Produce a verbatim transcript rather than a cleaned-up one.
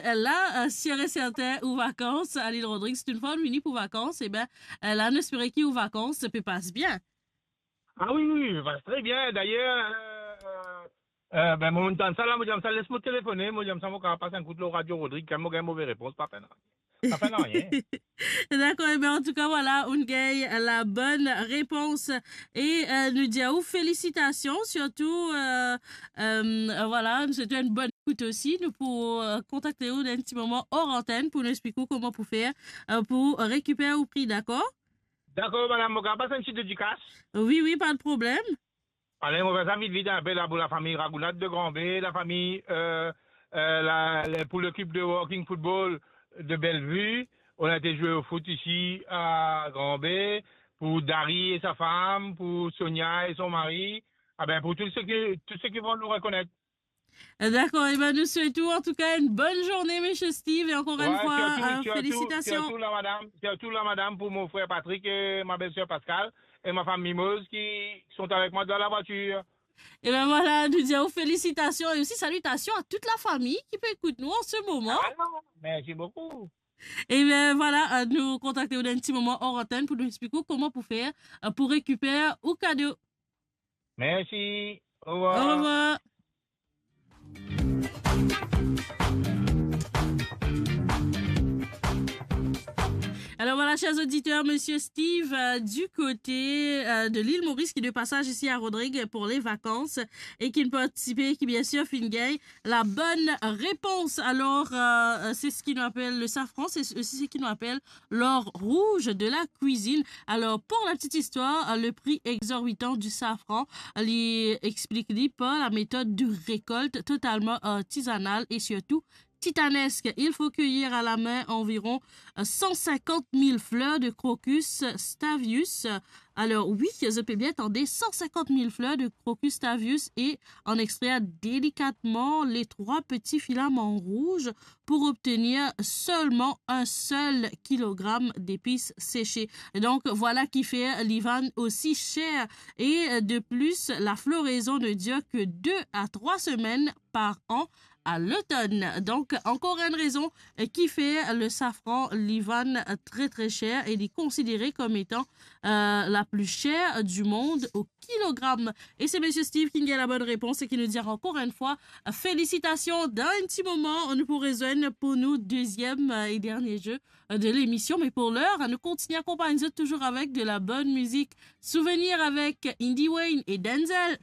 Eh, la, eh, sir e sertin, ou vakans, Alil Rodrigues, si to finn vini pou vakans, e ben, eh, la, nou espere ki ou vakans pe pas bien. Ah wi, wi, wi, pas tre bien. Dayer, eh, eh, eh, ben, mo tann sa la, mo dir sa, les mo telefone, mo dir sa, mo kapav pas enn kout lor Radio Rodrigues, kan mo gagn move repons, pa pena. Sa fer nanye. Dakor, e ben, antouka, vwala, ou gagn la bonn repons. E, eh, nou dir ou felisitasion, sirtou, eh, eh, vwala, nou swet ou enn bonn ekout osi. Nou pou, eh, kontakte ou dan enn ti moman or antenn pou nou explik ou kouma pou fer, eh, pou rekiper ou pri, dakor? Dakor, madam, mo kapav pas enn ti dedikas? Wi, wi, pa de problem. Ale, mo fer sa vit, vit, inpe la pou lafami Ragoulade de Grand Baie, lafami, eh, eh, la, le, pou lekip de Working Football de Bellevue. On a été jouer au foot ici à Grand Baie, pour Dari et sa femme, pour Sonia et son mari, ah ben, pour tous ceux qui, tous ceux qui vont nous reconnaître. Dakor, e ben, nou swet ou, antouka, enn bonn zourne, misie Steve, e ankor enn fwa, sirtou, eh, sirtou, felisitasion. Sirtou la madam, sirtou la madam pou mo frer Patrick e ma belser Pascal e ma fam Mimoz ki sont avec moi dans la voiture. E ben vwala, nou dir ou felisitasion e osi salitasion a tout lafami ki pe ekout nou an se moman. Ah, mersi boukou. E ben vwala, eh, nou kontakte ou dan enn ti moman or antenn pou nou explik ou kouma pou fer, eh, pou rekiper ou kado. Mersi. Orevwar. Orevwar. Alors voilà, chers auditeurs, monsieur Steve, euh, du côté, euh, de l'île Maurice, qui est de passage ici à Rodrigues pour les vacances et qui ne participe, qui bien sûr, finn gagn la bonne réponse. Alors, euh, c'est ce qui nous appelle le safran, c'est aussi ce qui nous appelle l'or rouge de la cuisine. Alors, pour la petite histoire, le prix exorbitant du safran, li explik li par la méthode de récolte totalement artisanale et surtout titanesque. Il faut cueillir à la main environ, euh, cent cinquante mille fleurs de crocus stavius. Alors oui, zot pe bien tande, cent cinquante mille fleurs de crocus stavius et en extraire délicatement les trois petits filaments rouges pour obtenir seulement un seul kilogramme d'épices séchées. Donc, voilà qui fait li vann aussi cher. Et de plus, la floraison ne dure que deux à trois semaines par an à l'automne. Donc, encore une raison, euh, qui fait le safran li vann très, très cher et il est considéré comme étant, euh, la plus chère du monde au kilogramme. E se misie Steve ki gagn la bonne réponse e ki nou dir ankor enn fwa, euh, felisitasion. Dan enn ti moman, nou pou rezwenn pou nou deziem, euh, e dernie jeu, euh, de l'émission. Me pou ler, nou kontigne akonpagn zot touzour avek de la bonne musique. Souvenir avek Indy Wayne e Denzel.